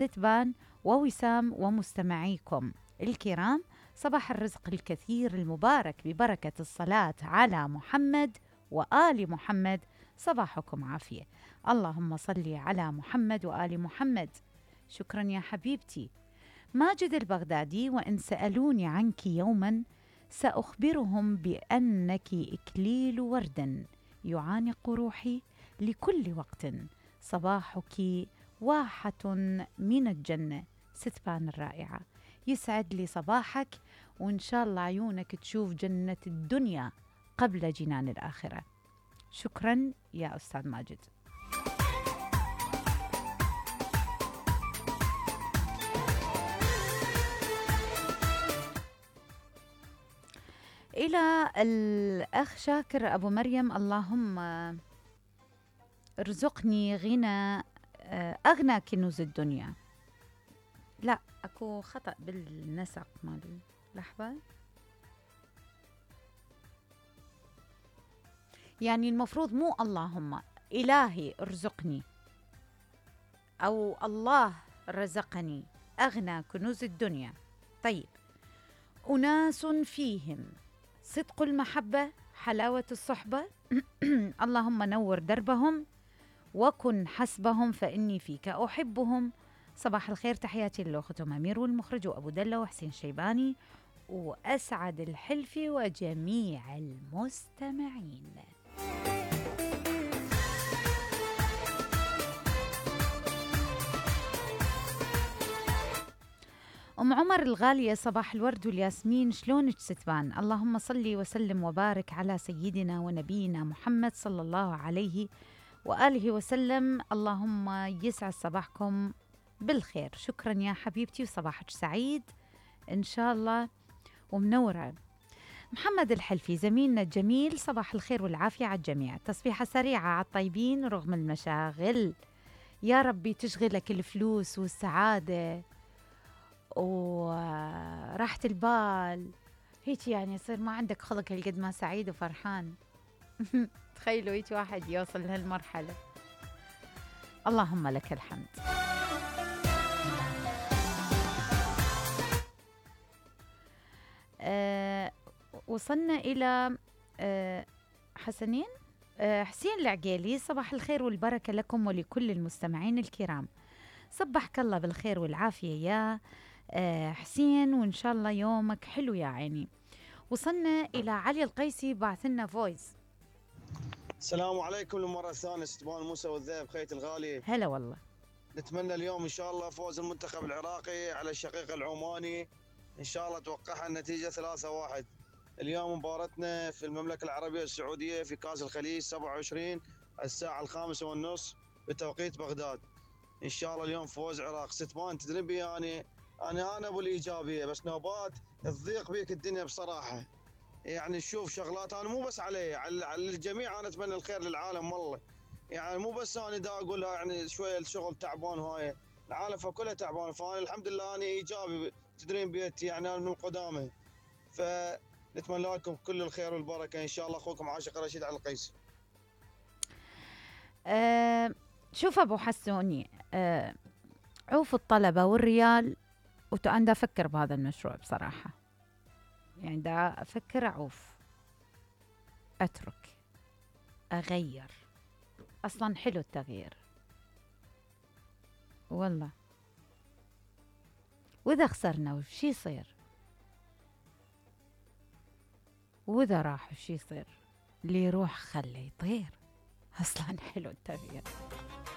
ستبان ووسام ومستمعيكم الكرام. صباح الرزق الكثير المبارك ببركة الصلاة على محمد وآل محمد. صباحكم عافية. اللهم صل على محمد وآل محمد. شكرا يا حبيبتي. ماجد البغدادي: وإن سألوني عنك يوما سأخبرهم بأنك إكليل ورد يعانق روحي لكل وقت. صباحك واحة من الجنة. ستبان الرائعة، يسعد لي صباحك، وإن شاء الله عيونك تشوف جنة الدنيا قبل جنان الآخرة. شكرا يا أستاذ ماجد. إلى الأخ شاكر أبو مريم: اللهم ارزقني غنى أغنى كنوز الدنيا. لا، أكو خطأ بالنسق مالي، لحظة. يعني المفروض مو اللهم، إلهي ارزقني، أو الله رزقني أغنى كنوز الدنيا. طيب: أناس فيهم صدق المحبة حلاوة الصحبة اللهم نور دربهم وكن حسبهم فإني فيك أحبهم. صباح الخير، تحياتي للأختهم أمير والمخرج وأبو دلة وحسين شيباني وأسعد الحلفي وجميع المستمعين. أم عمر الغالية: صباح الورد والياسمين، شلونك ستبان؟ اللهم صلي وسلم وبارك على سيدنا ونبينا محمد صلى الله عليه وآله وسلم. اللهم يسعد صباحكم بالخير. شكرا يا حبيبتي، وصباحك سعيد إن شاء الله ومنورة. محمد الحلفي زميلنا الجميل: صباح الخير والعافية على الجميع، تصبيحة سريعة على الطيبين رغم المشاغل. يا ربي تشغلك الفلوس والسعادة وراحة البال، هيك يعني يصير ما عندك خلق هالقد ما سعيد وفرحان. تخيلوا هيك واحد يوصل لهالمرحلة. اللهم لك الحمد. وصلنا إلى حسنين حسين العقيلي: صباح الخير والبركة لكم ولكل المستمعين الكرام. صبحك الله بالخير والعافية يا حسين، وإن شاء الله يومك حلو يا عيني. وصلنا إلى علي القيسي، بعثنا فويس. السلام عليكم للمرة الثانية، ستبان موسى والذئب خيتي الغالي. هلا والله. نتمنى اليوم إن شاء الله فوز المنتخب العراقي على الشقيق العماني، إن شاء الله توقعها النتيجة 3-1. اليوم مباراتنا في المملكة العربية السعودية في كأس الخليج 27 الساعة 5:30 بتوقيت بغداد. إن شاء الله اليوم فوز عراق. ستبان تدري بي أنا أبو الإيجابية، بس نوبات تضيق بيك الدنيا بصراحة. يعني شوف شغلات انا مو بس على الجميع، انا اتمنى الخير للعالم والله. يعني مو بس انا دا اقولها، يعني شويه الشغل تعبان، هاي العالم فكلها تعبان، فانا الحمد لله انا ايجابي تدرين بيتي، يعني انا من قدامي، فنتمنى لكم كل الخير والبركه ان شاء الله. اخوكم عاشق رشيد على القيس. شوف ابو حسوني، عوف الطلبه والريال، وانا دا افكر بهذا المشروع بصراحه، يعني دا افكر اعوف، اترك، اغير. اصلا حلو التغيير والله. واذا خسرنا وش يصير؟ واذا راح وش يصير؟ اللي يروح خليه يطير. اصلا حلو التغيير.